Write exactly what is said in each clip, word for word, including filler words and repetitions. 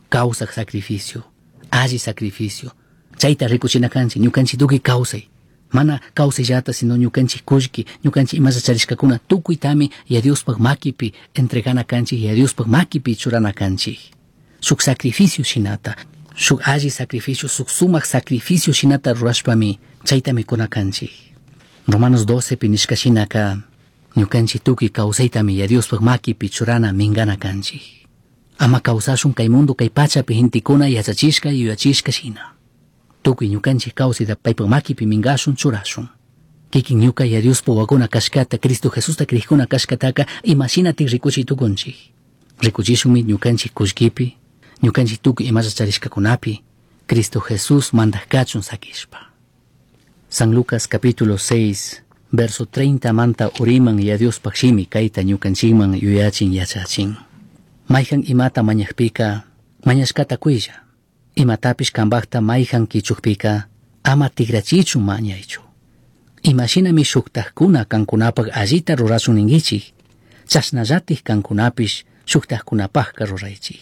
Causaj sacrificio, alli sacrificio. Chayta rikuchina kanchik, ñukanchik tukuy kawsay. Mana kawsayllata, sino ñukanchik kullki, ñukanchik imalla charishkakuna tukuytami Yaya Diospaj makipi entregana kanchik, Yaya Diospaj makipi churana kanchik. Shuk sacrificio shinata, shuk alli sacrificio, shuk sumak sacrificio shinata rurashpami chaytami kuna kanchik. Romanos doce pi nishka shinaka ñukanchik tukuy kawsaytami Yaya Diospaj makipi churana mingana kanchik. Ama kawsashun kay mundo kay pachapi gentekuna yachachishka yuyachishka shina. Tukuy ñukanchik kawsayta paypaj makipi mingashun churashun. Kikin ñuka Yaya Diospaj wawakuna kashkata, Cristo Jesusta krikuna kashkataka imashinatik rikuchiy tukunchik. Rikuchishunmi ñukanchik kullkipi, ñukanchik tukuy imalla charishkakunapi, Cristo Jesús mandaj kachun sakishpa. San Lucas capítulo seis, verso treinta manta uriman Yaya Diospaj shimi kayta ñukanchikman yuyachin yachachin. Mayhan imata mañajpika, mañashkata kuylla. Imatapish kambajta mayhan kichukpika, ama tigrachichu mañaychu. Imashinami shuktajkuna kankunapaj allita rurashun ninkichik, chashnallatik kankunapish shuktajkunapajka ruraychik.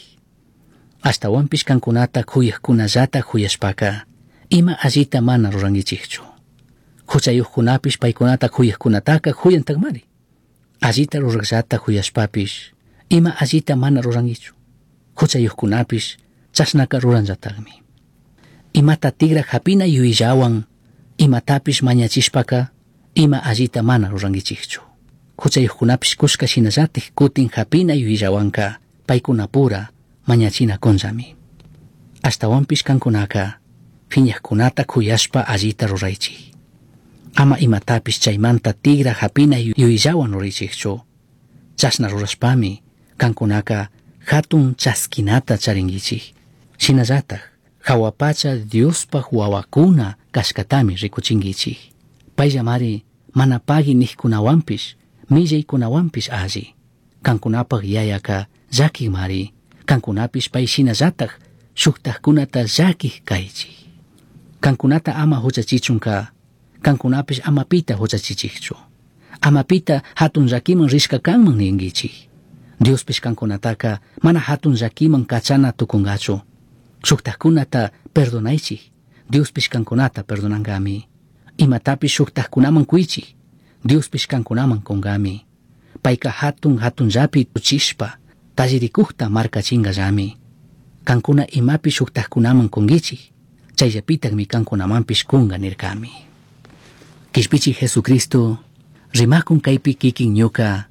Ashtawanpish kankunata kuyajkunallata kuyashpaka, ima allita mana rurankichikchu. Huchayuqkunapish paykunata kuyajkunataka kuyantakmari. Allita rurajllata kuyashpapish, ima allita mana rurankichu. Huchayuqkunapish chashnaka ruranllatakmi. Imata tigra hapina yuyayllawan, imatapish mañachishpaka, ima allita mana rurankichikchu. Huchayuqkunapish kushka shinallatik kutin hapina yuyayllawanka, paykunapura mañachina kunllami. Ashtawanpish kankunaka, phiñajkunata kuyashpa allita ruraychik. Ama imatapish chaymanta tigra hapina yuyayllawan ruraychikchu. Chashna rurashpami, kankunaka hatun chaskinata charinkichik. Shinallatak, jahua pacha Diospaj wawakuna kashkatami rikuchinkichik. Payllamari mana pagui nijkunawanpish, millaykunawanpish alli. Kankunapaj yayaka llakikmari, kankunapish pay shinallatak shuktajkunata llakik kaychik. Kankunata ama huchachichunka, kankunapish ama pita huchachichikchu. Ama pita hatun llakiman rishka kanman ninkichik. Diospish kankunataka mana hatun llakiman kachana tukungachu. Shuktajkunata perdonaychik, Diospish kankunata perdonankami. Imatapish shuktajkunaman kuychik, Diospish kankunaman kunkami. Payka hatun hatunllapi tuchishpa, tallirikujta markachingallami. Kankuna imapi shuktajkunaman kunkichik, chayllapitakmi kankunamanpish kunga nirkami. Kishpichi Jesucristo, rimakun kaypi kikin ñuka,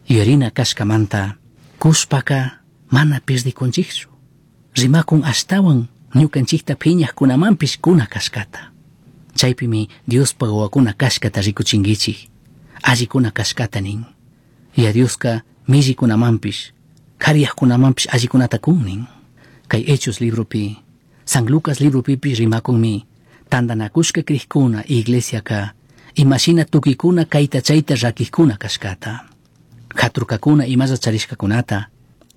yuyarina kashkamanta, kushpaka mana pirdikunchikchu. Rimakun ashtawan ñukanchikta phiñajkunamanpish kuna kashkata. Chaypimi Diospaj wawakuna kashkata rikuchinkichik, allikuna kashkata nin. Yaya Dioska millikunamanpish, kariyajkunamanpish allikunata kun nin. Kay Hechos libropi, San Lucas libropipish rimakunmi, tantanakushka krikuna iglesiaka, imashina tukikuna kayta chayta rakikuna kashkata. Haturkakuna imalla charishkakunata,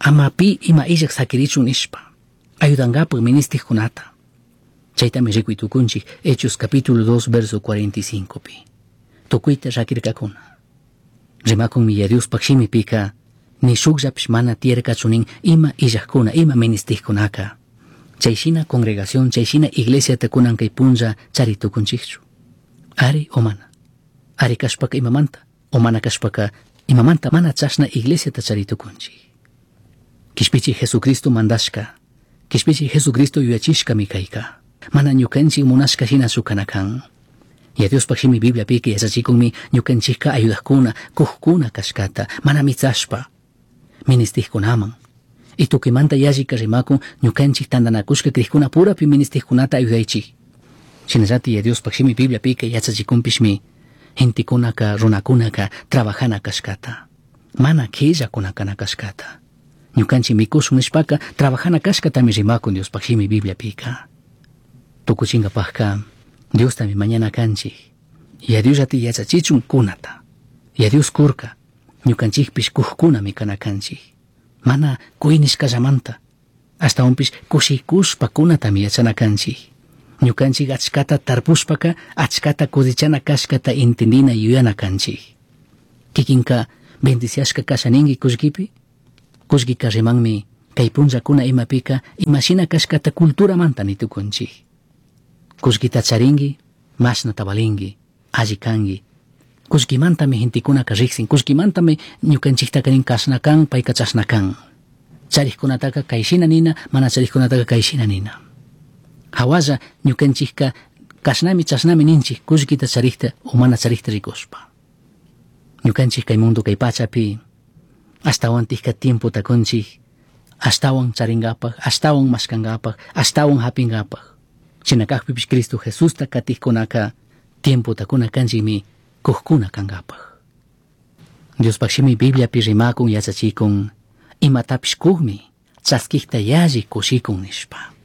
ama pi ima illak sakirichun nishpa, ayudankapak ministijkunata. Chaytami rikuy tukunchik Hechos capítulo dos verso cuarenta y cinco pi. Tukuyta rakirkakuna. Rimakunmi Yaya Diospaj shimipika, ni shukllapish mana tiyarkachu nin ima illajkuna, ima ministijkunaka. Chay shina congregación, chay shina iglesiata kunan kay punlla chari tukunchikchu. Ari o mana. Ari kashpaka imamanta, o mana kashpaka imamanta mana chashna iglesiata chari tukunchik. Kishpichi Jesucristo mandashka, kishpichi Jesucristo yuyachishkami kayka. Mana ñukanchik munashka shinachu kana kan. Yaya Diospaj shimi Bibliapika yachachikunmi ñukanchikka ayudajkuna, kujkuna kashkata, mana mitsashpa, ministijkunaman. Y tukimanta yallika rimakun ñukanchik tantanakushka krikuna purapi ministijkunata ayudaychik. Shinallati Yaya Diospaj shimi Bibliapika yachachikunpishmi gentekunaka, runakunaka trabajana kashkata, mana qhillakuna kana kashkata. Ñukanchik mikushun nishpaka trabajana kashkatami rimakun Diospaj shimi Bibliapika. Tukuchinkapajka Diostami mañana kanchik. Yaya Diosllati yachachichun kunata. Yaya Dios kurka, ñukanchikpish kujkunami kana kanchik. Mana kuynishkallamanta, ashtawanpish kushikushpa kunatami yachana kanchik. Ñukanchik achkata tarpushpaka achkata cosechana kashkata entendina yuyana kanchik. Kikinka bendiciashka kasha ninki kullkipi? Kullkika rimanmi Kay punllakuna imapika imashina kashkata culturamanta nitukunchik. Kullkita charinki, mashnata valinki, alli kanki. Kullkimantami gentekunaka riksin, kullkimantami ñukanchiktaka nin kashna kan, payka chashna kan. Charikkunataka kayshina nina, mana charikkunataka kayshina nina. Hawalla ñukanchikka kashnami chashnami ninchik kullkita charikta o mana charikta rikushpa. Ñukanchik kay mundo kay pachapi ashtawantikka tiempota kunchik ashtawan charinkapak, ashtawan mashkankapak, ashtawan hapinkapak. Shina kakpipish Cristo Jesusta katikkunaka tiempota kuna kanchikmi kukkuna kankapak. Diospaj shimi Bibliapi rimakun yachachikun imatapish kukmi chaskikta yalli kushikun nishpa.